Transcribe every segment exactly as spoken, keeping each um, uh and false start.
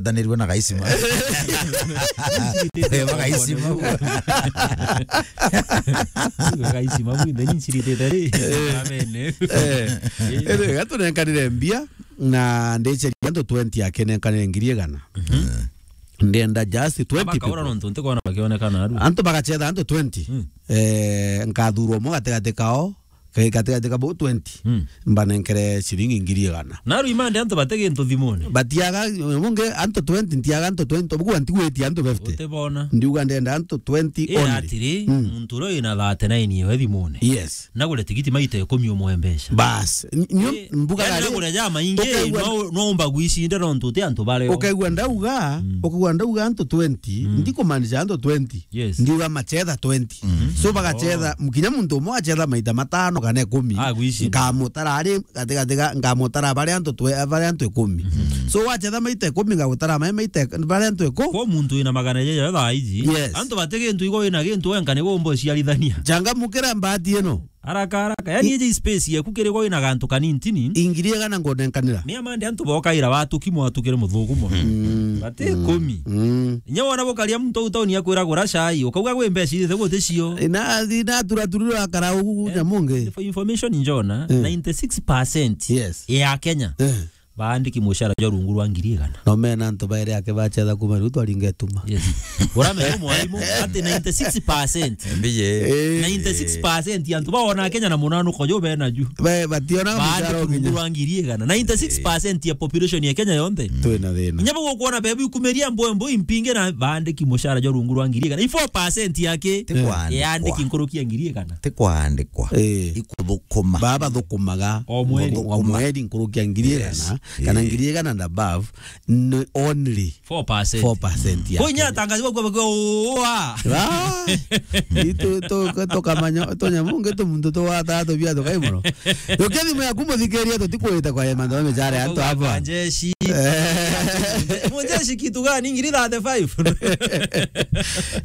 Danirwe na gaisima. Eba gaisima. Gaisima bu, then nchiritite ri. Amen. Eh. Ere, gatunenkanire mbia, na ndicheria antu twenty akenenkanire ngiri igana. Ndienda just twenty Abakaura people. Nontu ntikwona bakionekana aru. Antu bagachetha antu twenty. Mm. Eh, nkathurwa umwe gatigati kao, Ka-, gatigati ka bau twenty, mm, mbanenkere ciringi ngiri igana. Na rwimande antu bate gintu thimune. Batiaga, mungi antu twenty, ntiaga antu twenty, bugwa ntigwitie antu fifty. Utibona. Ndiuga ndenda antu twenty. Ira only. Atiri, mm, muntu uria wina thirty-nine yewe thimune. Yes. Nagure tigiti maita ikumi umwe mbeca. Bas. N-, nyo, eh, mbuga yani gari, nagure ja maingi, ukaigua no, no umba gwicinda nontu uti antu bario. Ukaigua ndauga, mm, ukaigua ndauga antu twenty, mm, ndikumaanisha antu twenty. Yes. Ndiuga machetha twenty. Mhm. So bagachetha, oh, kinya muntu umwe achetha maita matano kana ikumi. Ah, gwici. Nkamutara ari gatigati ga, nkamutara bari antu twe-, bari antu ikumi. Mhm. So wachetha maita ikumi, ngagutara mai maita ik-, bari antu iku-. Kwa muntu wina magana jaja thaa iji. Yes. Antu bati gintu igo wina gintu wenka nigo umba uciarithania. Changamukira mbati ino. Haraka, haraka. Yani, i-, iji space yeku kiri gwa wina gantu kanintini. Ingiri igana ngonenkanira. Ni amande antu bokaira watuki mwatukire muthuku mono. Mm. Bati ikumi. Mm. Inya wona bukaria muntu au tauni akwira gura chai, ukauga gwi mbeca irite guti cio. Ina, ina tura turiro akara ugu, eh, nyamungi. For information, Njona, eh, ninety-six percent, yes, ya Kenya. Eh. Baandiki mucara jwa rungu rwa ngiri igana. No mena antu bairi ake bachetha kuma riu twaringa ituma. Yes. Uramenya mwarimu ati ninety-six percent. Mbiye. Eh. Ninety-six percent ya antu baona Kenya na munanuko jo bena ju. Ba-, bationa mucara rungu rwa ngiri igana. Ninety-six percent ya population ya Kenya yonthe. Twina thina. Inya bagukwona bebu ikumiria mbo, mbo impinge na baandiki mucara jwa rungu rwa ngiri igana. I four percent yake. Ti kwandikwa. Yaandiki nkuruki ya ngiri igana. Ti kwandikwa. Eh. Ikuthukuma. Baba thukumaga. O mweri. O mweri nkuruki ya ngiri igana, yes, kana, eh, ngiri igana and above, ni only four percent. Four percent ya. Kwinya atangazi bakwa bakwa, "Oa." Ah, itu to, to kamanya, to nyamunge to muntu to wata to bia to kai mono. Yokia thimu yaku muthikiria, tutikwita kwa yema ndo mechare antu hapa. Jeshi. Eh. Mujeshi kitu gani? Ngiri thirty-five.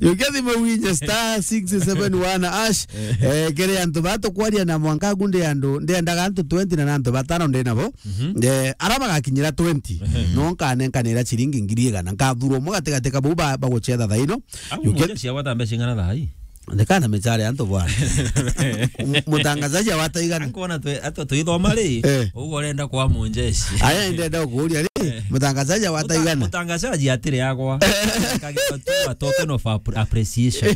Yokia thimu winye star six seven one hash. Eh, kiri antu batukwaria na mwanka gunde andu, ndendaga antu twenty na antu batano ndi nabo. Mhm. Eh, ara bagakinyira twenty, mhm, no nkanenkanira ciringi ngiri igana. Nkathurwa umwe gatigati ka bau ba-, baguchetha thaino. Au mujeshi agwata mbeca ing'ana thaa ii? Ndekana mechare antu bwana. M-, mutangazaji agwata igana? Nkuona twe, ato twithoma ri, eh, ugu urenda kwa mujeshi. Aya ndenda kuuria ri, eh, mutangazaji agwata igana? Mutangazaji atire agwa. Kagitwa tu a token of appre-, appreciation.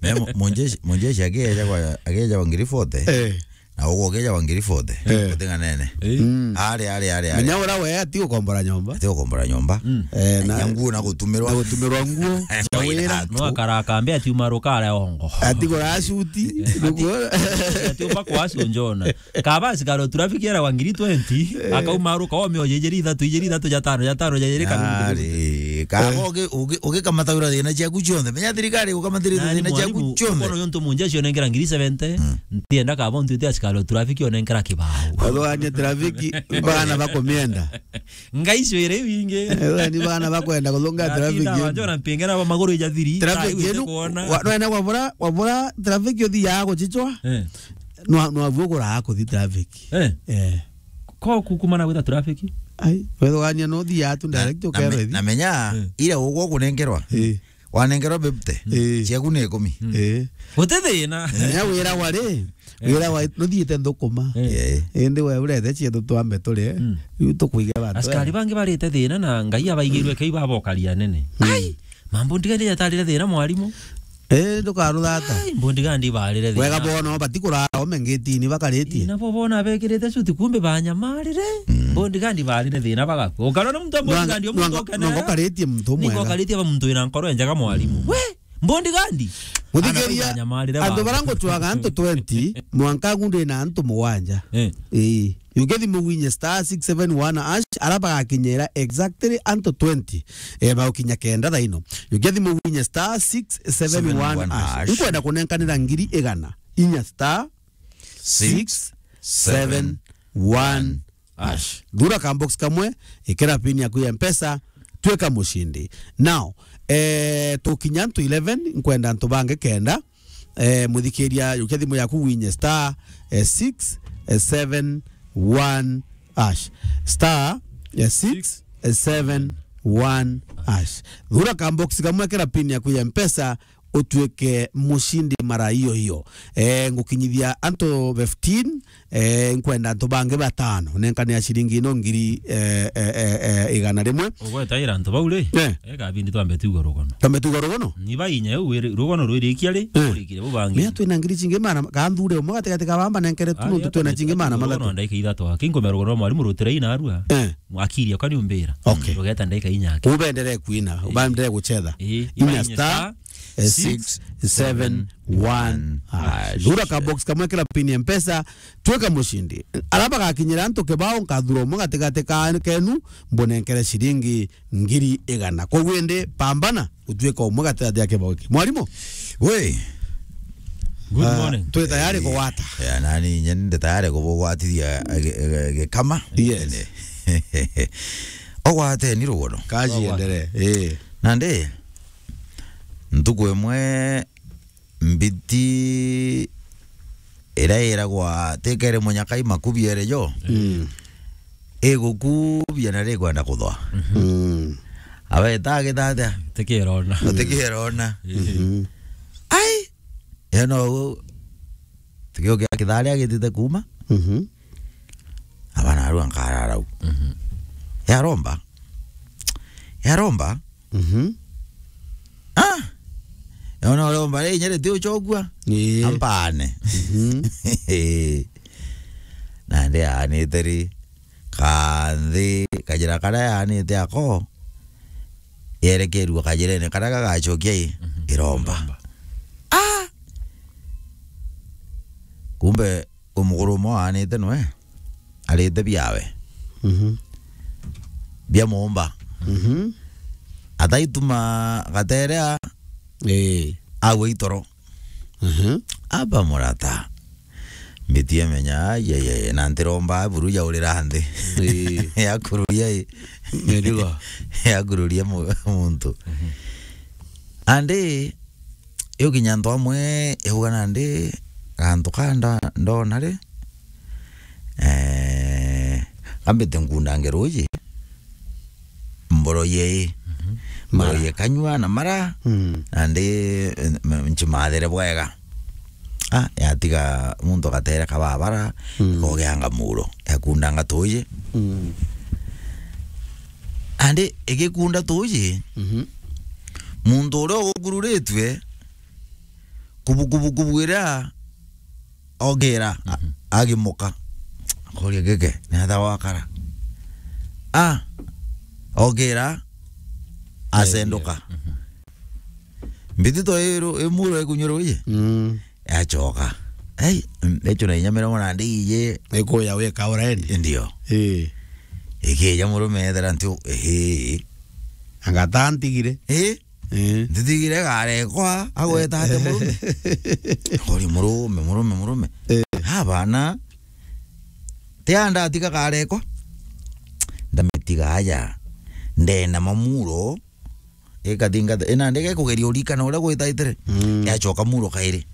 Me mu-, mujeshi, mujeshi ageja kwa, ageja kwa ngiri forty. Eh. Na ugu ugeja wa ngiri forty, eh, utinganene. Eh. Mm. Ari, ari, ari, ari. Menya ura we ati ukombora nyomba. Ati ukombora nyomba. Mm. Eh, na, na nguo na gutumirwa. Na gutumirwa nguo. Cia wira. No akara akambe ati umaruka are ongo. Ati gura suti. Ati, ati umba kwa acio Njona. Kaba asikari o traffic era wa ngiri twenty, eh, akaumaruka o mio jejeri ithatu, ijeri ithatu, ja tano, ja tano, ja jeri kabiri. Ari, kaba, eh, ugi-, ugi-, ugikamata ura thina ciaku cionthe. Menya thirikari ukamatire thina ciaku cionthe. Kono yonto munja cionengera ngiri seventy. Mm. Ntienda kaba untu ite asikari o traffic onenkera kibao. Athugania traffic, bana bakumienda. Ngai cwire iu ingi. Athugania bana bakwenda kuthunga traffic. Atinda yenu. Wanjona mpingera ba maguru ija thiri. Traffic yenu, kuona. Wa-, nwene wabura, wabura traffic uthi ya guchichwa. Eh. Nwa-, nwabu ugura kuthi traffic. Eh. Eh. Ko kukumana gwita traffic? Ai, wethugania no thi ya tu direct ukebe thi. Na me-, na menya, eh, ira ugwo kunengerwa. Eh. Wanengerwa fifty, eh, ciaku ni ikumi. Mm. Eh. Guti thina. Nya wira wari, eh, wira wa, nuthiite nthukuma. Eh. Eh. Indi we urete ciethu twambe turie. Mm. Riu tukuige bantu. Askari bangi barite thina na Ngai abaigirwe kei babokaria nene. Mm. Ai, mambo ndigani yatarire thina mwarimu. Eh, ndukaruthata. Ai, mbundi gandi barire thina. Wega bono, bati kurara ome ngitini bakaritie. Ina bo bona bekirite suti kumbe banyamarire. Mm. Mbundi gandi barire thina bagakua. Ukarona muntu wa mbundi gandi omuntu okenera. Nongo karitie muntu mwega. Niko karitie ba muntu wina nkoro enjaga mwarimu. Mm. We, mbundi gandi. Muthikiria, antu bara ngutwaga antu twenty, mwanka gunde na antu mugwanja. Eh. Eh. Yuke thimu winye star six seven one hash, ara bagakinyira exactly antu twenty. Eh, bagukinya kenda thaino. Yuke thimu winye star six seven one hash. Nkwenda kunenkanira ngiri igana. Inya star six seven one hash. Thura ka box kamwe, ikira pin yaku ya Mpesa, twika mushindi. Now, eh, tukinya antu eleven, nkwenda antu bangi kenda. Eh, muthikiria, yukia thimu yaku winye star, eh, six seven one hash. Star, eh, six seven one hash. Thura ka box kamwe, kira pin yaku ya Mpesa, utuike mushindi mara iyo iyo. Eh, ngukinyithia antu fifteen, eh, nkwenda antu bangi batano. Nenkane ya ciringi ino ngiri, eh, eh, eh, eh, igana rimwe. Ugwetaira antu bau ri? Eh. Ega bindi twambe tuigwe rugono. Twambe tuigwe rugono? Ni bainya u wiri-, rugono rwirikia ri? Eh. Urikire bu bangi. Mea twina ngiri cingi mana, ka nthure umwe gatigati ka bamba nenkere tu. Ah, nuntu ya twina twambe cingi mana rugono mathatu. Ndaika ithatu. Kinkomera rugono mwarimu rutire ina arua. Eh. Mwakiria kani umbira. Okay. Rugeta ndaika inya aki. Ubenderee kuina, ubenderee guchetha. Eh, inya inya star, star, eh, six seven one hash. Thura ka box kamwe, kira pin ya Mpesa, twika mushindi. Ara bagakinyira antu kibao, nkathura umwe gatigati ka kenu, mbunenkere ciringi ngiri igana. Koguo indi, pambana, utuika umwe gatigati ya kibao ki. Mwarimu? We. Good morning. Ah, twi tayari kugwata. Ya, nani, nye ndi tayari kubugwatithia, eh, gi-, gi-, gikama. Yes. Ogwateni rugono. Kaji endelee. Eh. Nandi, ntuku imwe mbiti iria iragwa tikere munyaka imakubiere jo. Mm. Igukubia na rikwenda kuthwa. Mm. Aweta agitata. Tikirona. Tikirona. Mhm. Ai. Eno, tikio kia kithari agitite kuma. Mhm. Abana arua nkarara u. Mhm. Yaromba. Yaromba. Mhm. Ah! Ona uromba ri nyere ti uchogua. Ii. Ampane. Mhm. Na ndi anite ri, kanthi, kajira karia yanite ako, yerekerua kajirene karia gagacokia i, mhm, iromba. Iromba. Ah! Kumbe umukuru umwe waanite nwe arite biawe. Mhm. Bia muumba. Mhm. Ataituma gaterea. Ii. Agwe itoro. Mhm. Aba murata. Mbitie menya, ai, ai, ai, na ntiromba buru yaurira nthi. Ii. Yakururia i. Mirigo. Yakururia mu-, muntu. Mhm. Andi, iu kinya antu amwe, iuga nandi, gantu ka nda-, ndona ri, eh, kambite nkundange ruuji, mboroye i. Mhm. Mboroye mara. Kanyua na mara, mm, nandi, eh, m-, nchimathire bwega. Ah, yatiga muntu agatere kababara, mm, kogeanga muro, yakundanga tuuji. Mm. Andi igikunda tuuji, mhm, muntu uria ugukururitue, kubu, kubu, kubu iria ogira, a-, mhm, agimuka. Akoria, "Geke, ni atha wakara?" Ah, ogira, asenduka. Mhm. Mbitito iru-, imuro ikunywa ruuji. Mm. Yacoka. Ei, mm, echo na inya mirongo na ndi iji. Ikuya wika already. Ndio. Ii. Ikija murume ethera nti u-, ii. Anga ta ntigire. Ii. Ii. Ntitigire garekwa, agweta ate murume? Akori murume, murume, murume. Ii. Abana, ti a ndatiga garekwa. Ndamitiga aja. Ndena mamuro. Ikathingata, ina ndege kugeria urikana uria gwitaitire. Mm. Yacoka muro kairi.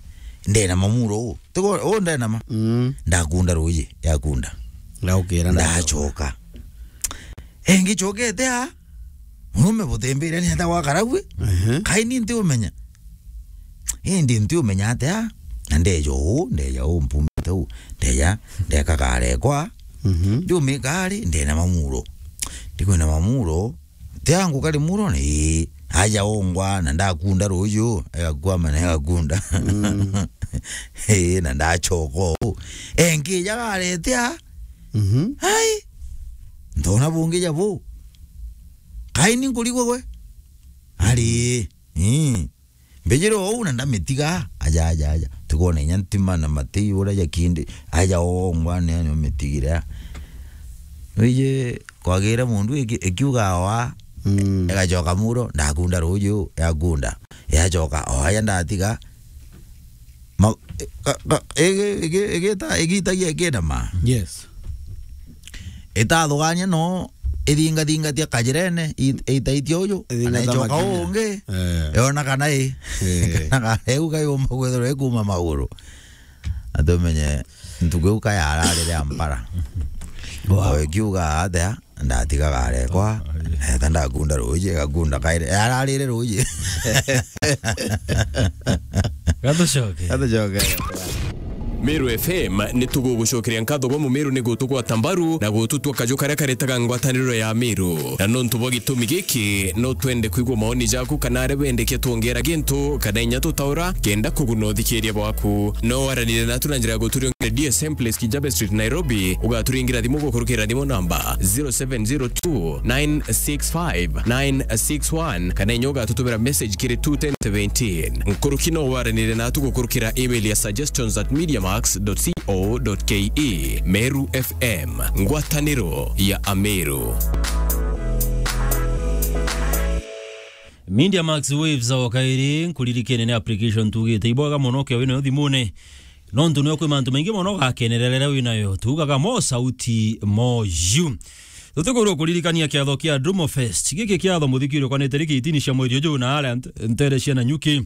Ndenama muro u. Tigo, u ndenama. Mm. Ndakunda ruuji, yakunda. Ndaukira, ndacoka. Engi cokete a, murume butembere ni ata gwakara gwe? Ehe. Kai ni nti umenya. Indi nti umenya atia? Na ndeja u, ndeja u, mpumite u. Ndeja, ndeka karekwa. Mhm. Ndiumika ari, ndenama muro. Ndikwinama muro, Ti angu kari muro ni, aja ongwa na ndakunda ruuju, egakwama na egakunda. Mm. Ii, na ndachoka uu. Enkija garetea. Mhm. Ai, ntona bungi ja bu. Kai ni nkurigwe gwe? Ari, ii. Mbijire uu na ndamitiga, aja, aja, aja. Tikwona inya ntima na mati uria jakindi, aja ongwa ni, ni umitigire. Wiji kwagire mundu iki-, ikiuga oa, mm, igacoka muro, ndakunda ruuju, yakunda. Yacoka, oa ya ndatiga. Ma-, ka-, ka-, igi-, igi-, igita-, igitagia ikindama. Yes. Itathugania no ithingathingatia kajirene, it-, itaitia uju, kana icoka ungi, eh, yona kana i, eh, kana ka-, iu kayumba kwithirwa ikuma maguru. Atumenye ntuku iu kayararire ampara. Wow. O ikiuga atia, ndatigaga arekwa, eta ndakunda ruuji, gakunda kaire, ararire ruuji. Gatucoke. Gatucoke. Meru F M ni tugugucokeria nkatho bwa Mumeru ni gutugwata mbaru na gututua kaju karia karetaga ngwataniro ya Meru. Na nontu bwa gitumi giki, no twende kwigua maoni jaku kana aria wendekia twongera gintu kana inya tutaura kenda kuguna uthikiria bwaku. No waranire natu na njira ya guturiongera D S M Place, Kijabe Street, Nairobi, ugaturingira thimu gukurukira thimu namba zero seven zero two nine six five nine six one, kana inya ugatutumira message kiri two ten seventeen. Nkuruki no waranire natu gukurukira email ya suggestions at mediamax dot co dot ke. Meru F M, ngwataniro ya Ameru. Media Max Waves o kairi, nkuririkene ni application tugite ibwega mono ke winayo thimune. Nontu nio kwi mantu maingi mono ugakenerera riria winayo. Tugaga mo sauti mo yu. Tutikwirwo kuririkania kiatho kia Drumo Fest. Giki kiatho muthikiri ukwanite riki itini cia mweri uju na aria nt-, ntere cia Nanyuki.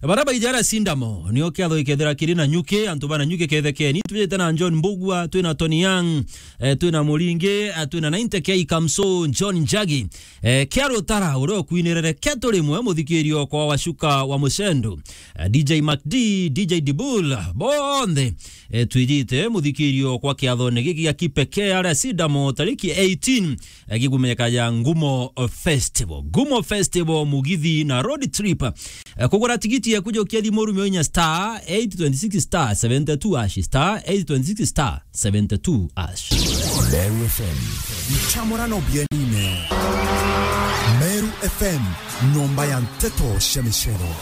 Baria baijara Sindamo, nio kiatho gikethira kiri Nanyuki, antu ba Nanyuki kethekeni. Twijite na John Mbugua, twina Tony Young, eh, twina Muringi, eh, twina Nainte K Kamso, John Njagi. Eh, kia Rutara, uria ukwinirere Ketu Rimwe, muthikirio kwa Wacuka wa Mucendu. Eh, D J Mac D, D J Dibul, bonthe, eh, twijite muthikirio kwa kiathone giki gia kipekee aria Sidamo tariki eighteen, eh, gikumenyeka ja Ngumo Festival. Ngumo Festival, mugithi na road trip. Eh, kugura tigiti ya kujokia thimu rumio inya star eight twenty six star seventy two hash, star eight twenty six star seventy two hash. Meru F M. Nchamurano bienine. Meru F M, nyomba ya nteto cia micero.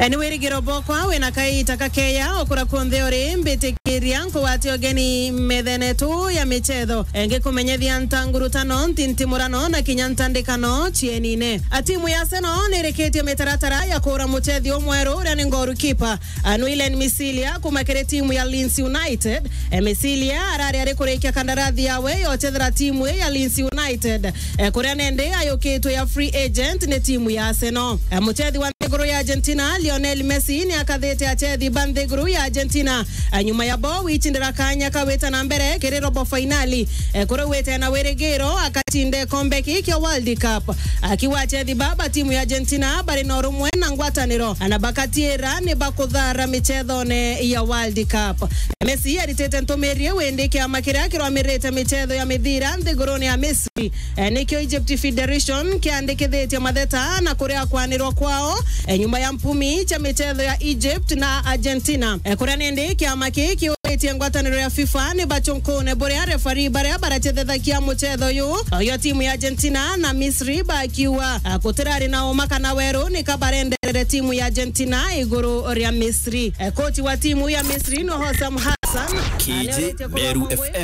Ni wirigiro bwakwa wina kaita kakeya okura kunthe uri, mbitikiria nkugwate ugeni methene tu ya michetho. Ngikumenyethia ntangurutano, ntintimurano na kinya ntandikano cienine. A timu ya Arsenal nirikitie mitaratara ya kura muchethi umweru uria ni goalkeeper, Anuilen Misilia kuma kiri timu ya Leeds United. E, Misilia arari ari kurikia kandarathi yawe ya uchethera timu ya Leeds United, e, kuria nende ayukitwe ya free agent ni timu ya Arsenal. E, muchethi wa nthiguru ya Argentina, Lionel Messi, ni akathite achethi ba nthiguru ya Argentina, e, nyuma ya bo wichindira kanya ka wita na mbere kiri robo fainali, e, kuria wite na wirigiro akachinde kombe ki kia World Cup. Akiwa achethi ba ba timu ya Argentina bari na urumwe na ngwataniro, na bakatiira ni bakuthara michethone ya World Cup. Messi aritite ntumirie windi kiama kiria kirwamirite michetho ya mithira nthigurune ya Misri, eh, nikio Egypt Federation kiandikithitie matheta na kuria kwanirwa kwao, eh, nyuma ya mpumi cha michetho ya Egypt na Argentina. Eh, kuria nindi kiama kii kiuritie ngwataniro ya FIFA ni bachunkune buria refari baria barachethethagia muchetho uyu, oyo timu ya Argentina na Misri bakiuga, ah, gutirari na uma kana weru nika barenderere timu ya Argentina iguru ria Misri. Eh, kochi wa timu ya Misri no Hossam Hassan. Kiji Meru F M.